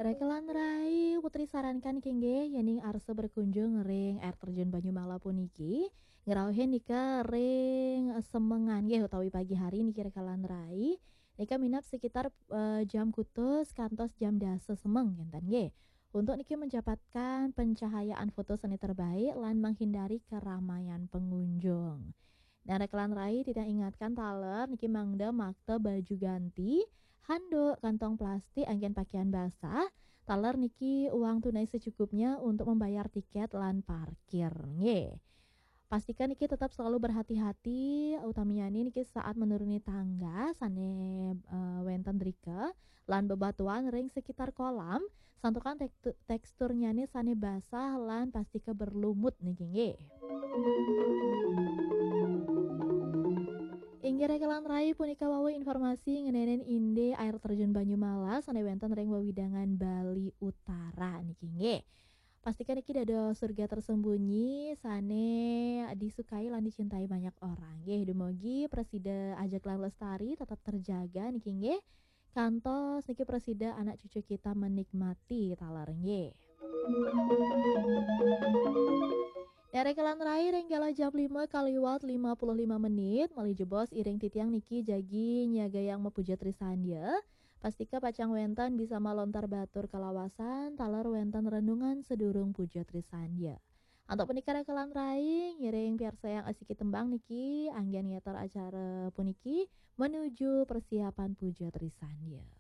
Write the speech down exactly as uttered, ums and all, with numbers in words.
Rekan rai, Putri sarankan niki nggih, yening arsa berkunjung ring air terjun Banyumala puniki, ngrauhin nika ring semengan nggih utawi pagi hari niki rekan rai. Nika minab sekitar eh, jam kutus kantos jam dasa semeng ngenten nggih. Untuk niki mendapatkan pencahayaan foto seni terbaik lan menghindari keramaian pengunjung. Nah, rekan rai titiang ingatkan taler niki mangda makta baju ganti, handuk, kantong plastik, anggen pakaian basah, taler niki uang tunai secukupnya untuk membayar tiket lan parkir. Nggih. Pastikan niki tetap selalu berhati-hati, utamanya niki saat menuruni tangga sane eh, wenten drika lan bebatuan ring sekitar kolam, santukan tektu- teksturnya ni sane basah lan pastika berlumut niki nggih. Inggih rekan rai, punika wau informasi ngeninin indik air terjun Banyumala sane wenten ring wewidangan Bali Utara niki nggih. Pastikan niki dados surga tersembunyi sane disukai lan dicintai banyak orang. Nggih, dumugi prasida ajeg lan lestari tetap terjaga niki nggih. Kantos niki prasida anak cucu kita menikmati taler nggih. Dari kelan rai ring kala jam lima kaliwat lima puluh lima menit, malih jebos iring titiang niki jagi nyagayang mapuja trisandya. Pastika pacang wenten bisa malontar batur kalawasan, taler wenten renungan sedurung puja trisandya. Antuk punika rekan rai, ngiring piarsayang asiki tembang niki, anggen ngeter acara puniki menuju persiapan puja trisandya.